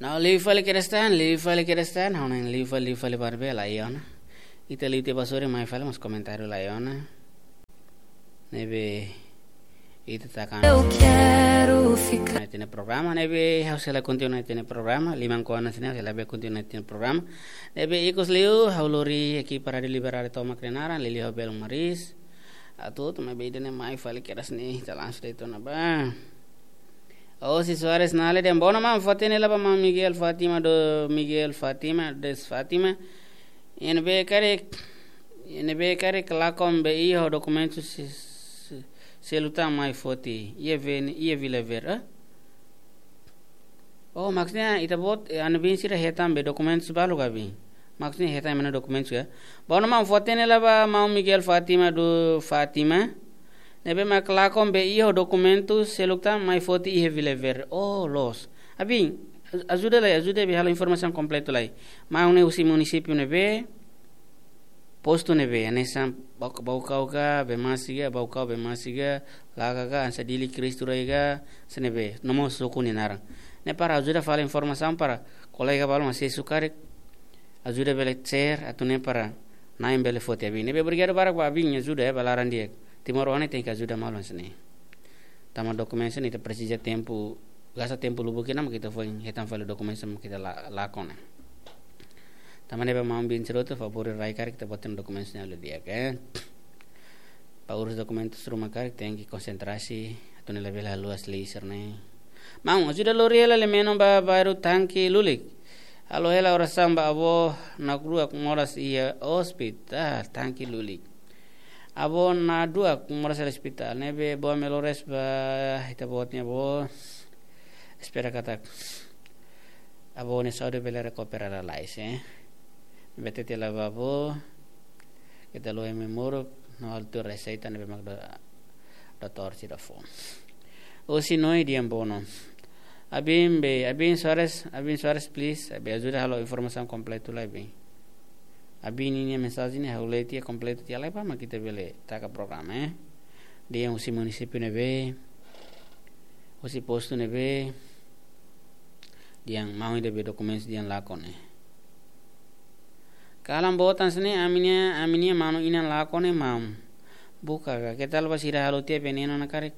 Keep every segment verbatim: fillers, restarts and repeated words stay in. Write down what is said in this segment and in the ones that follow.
Não, liu fali kedas tan, liu fali kedas tan, ha'u hanoin liu fali, liu fali para bele iha ona. Ita liu tiha ba sorin, mai fali mós komentáriu la iha ona. Ne'ebé ita taka. Eu quero ficar. Ita-nia programa, ne'ebé ha'u sei la kontinua ita-nia programa, liman kuandu sini ha'u sei la bele kontinua ita-nia programa. Ne'ebé ikus liu, ha'u lori ekipa Rádiu Liberdade tomak nia naran, liuliu ha'u belun Maris. Atu, tu mai beda ne mai fali kedas ne'e, ita langsung de'it ona ba. Osi Soares Nale dehan, bono maun, foti ne'e la ba maun Miguel Fátima do, Miguel Fátima, des Fátima. Ne'ebé karik, ne'ebé karik lakon be iha dokumentu se, se, selu tan mai foti. Iha ve-, iha Vila Verde, eh? Oh, maksudnya ita-boot, eh, anu bin sira hetan be dokumentu balu ka bin. Maksudnya hetan mana dokumentu ya. Bono maun, foti ne'e la ba maun Miguel Fátima do Fátima. Ne'ebé mak lakon be iha dokumentu selu tan mai foti iha Vila Verde. Oh, loos. Abin, ajuda lai, ajuda be halo informasaun kompletu lai. Maun ne'e husi munisípiu ne'ebé, postu ne'ebé, hanesan Bau-, Baucau ka, Bemasi ka, Baucau, Bemasi ka, Laga ka, hanesan Dili, Cristo Rei ka, hanesan ne'ebé, no mós suku nia naran. Ne'e para ajuda fali informasaun para kolega balu mak sei sukarik, ajuda bele share, atu nune'e para na'in bele foti abin. Ne'ebé obrigadu barak ba abin ajuda ya, ba laran di'ak. Timoroan ne'e tenke ajuda malu hanesan ne'e. Tanba dokumentu ne'e ita presiza tempu, gasta tempu lubuk ida mak ita foin hetan fali dokumentu mak ita la-, lakon ne'e. Tanba ne'e ba maun bin sira hotu, favór rai karik ita-boot nia dokumentu ne'e halo di'ak, eh. Ba urus dokumentu sira mak karik tenke konsentrasi, atu nune'e labele haluha liu sira-ne'e. Maun, ajuda lori hela le menu ba bairru Tanki Lulik. Halo hela orasaun ba avó nakdua moras iha ospitál Tanki Lulik. Avó nakdua moras iha ospitál. Ne'ebé boa melhoras ba ita-boot nia avó. Espera katak avó nia saúde bele rekupera lalais, eh. Ne'ebé hatete hela ba avó, keta haluha ema moruk, no halo tuir reseita ne'ebé mak do-, doutór sira fó. Osi Noi dehan bono. Abin be, Abin Soares, Abin Soares, please, be ajuda halo informasaun kompletu lai be. Abin ninia mensajen ne'e ha'u lee tiha kompletu tiha lai ba mak ita bele taka programa, eh. Dehan husi munisípiu ne'ebé, husi postu ne'ebé, dehan maun ida be dokumentu dehan lakon ne'e. Kalan boot hanesan ne'e, ami-nia, ami-nia manu inan lakon ne'e maun. Buka ka, keta haluha ba sira halo tiha venenu ona karik.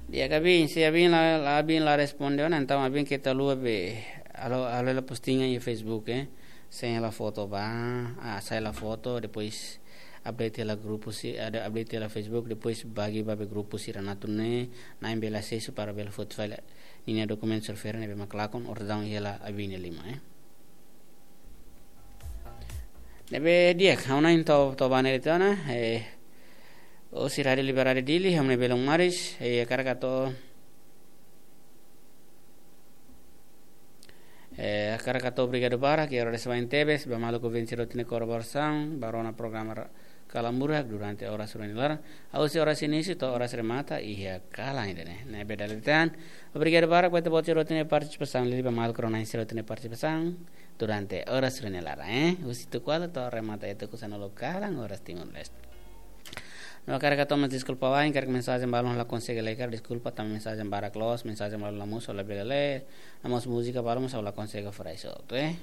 Di'ak, abin, se abin la, la, abin la responde ona, entaun abin keta haluha be, halo, halo hela postingan iha Facebook, eh. Sai hela foto ba, ah, sai hela foto, depois update hela grupu si-, ada update hela Facebook, depois bagi ba be grupu sira-ne'e atu nune'e na'in bele asesu para bele foti fali ninia dokumentu sira refere ne'ebé mak lakon, orsida hela abin nia liman, eh. Ne'ebé di'ak, ha'u hanoin to'o, to'o ba ne'e de'it ona, eh, osi Rádiu Liberdade Dili, ha'u-nia belun Maris, eh, hakarak atu, eh, hakarak atu obrigadu barak, i agradese barak tebes ba maluk ouvinte sira hotu nia kolaborasaun, ba rona programa ra-, Kalan Burak durante oras rua nia laran, husi oras inísiu to'o oras remata, iha kalan ida-ne'e. Ne'ebé dala ida tan, obrigadu barak ba ita-boot sira hotu nia partisipasaun, liuliu ba maluk rona sira hotu nia partisipasaun durante oras rua nia laran, eh. Husi tuku ualu to'o remata iha tuku sanulu kalan oras Timor-Leste. No hakarak atu mós deskulpa wa'in, karik mensajen balun la konsege lee karik, deskulpa, tanba mensajen barak loos, mensajen balun la mosu, la bele lee, no mós múzika balun mós la konsege fó rai soltu, eh.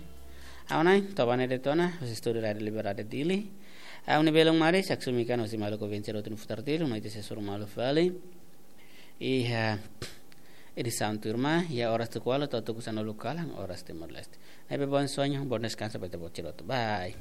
Ha'u hanoin, to'o ba ne'e de'it ona, husi estúdiu Rádiu Liberdade Dili. Ha'u-nia belun Maris, haksolok mai husi maluk ouvinte sira hotu nia futar tiha, no ita sei hasoru malu fali iha edisaun tuirmai, iha oras tuku ualu to'o tuku sanulu kalan oras Timor-Leste. Ne'ebé bom sonho, bom descanso ba ita-boot sira hotu. Bye.